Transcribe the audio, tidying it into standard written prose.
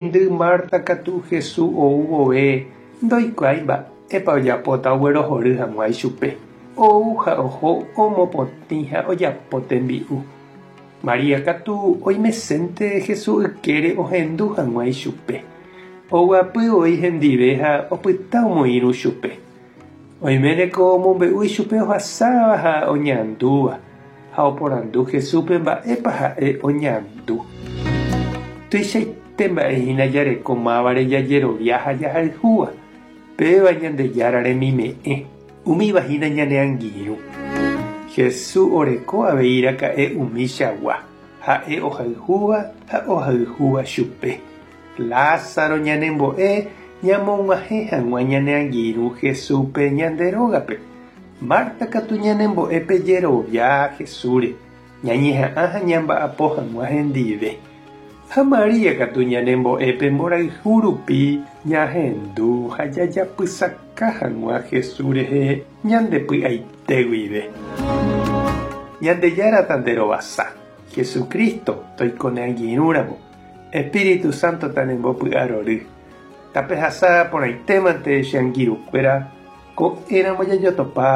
Heindy Marta katu Hesu ou vove ndoikuaái mba'épa ojapóta oguerohory hag̃ua ichupe. Ou ha oho omopotĩ ha ojapo tembi'u. María katu oimesénte Hesu ykére ohendu hag̃ua ichupe. Oguapy voi hendive ha opyta omoirũ chupe. Oiméneko omombe'u ichupe ohasáva ha oñandúva, ha oporandu Jesúspe mba'épa ha'e oñandu. Tuichaite mba'e hína jareko mávare jajerovia ha jahayhúva, péva Ñandejára remime'ẽ, umíva hína ñane angirũ. Jesús oreko avei raka'e umichagua, ha'e ohayhúva ha ohayhúva chupe. Lázaro ñanembo'e ñamog̃uahẽ hag̃ua ñane angirũ Jesúspe ñande rógape. Marta katu ñanembo'e pe jerovia Jesúsre, ñañeha'ã ha ñamba'apo hag̃ua hendive. Ha María katu ñanembo'e pe mborayhu rupi ñahendu ha jajapysaka hag̃ua Jesús rehe ñande py'aite guive. Ñandejára tanderovasa, Jesucristo toiko ne angirũramo. Espíritu Santo tanembopy'arory. Tapehasa porãitémante che angirũkuéra, ko'ẽramo jajotopa.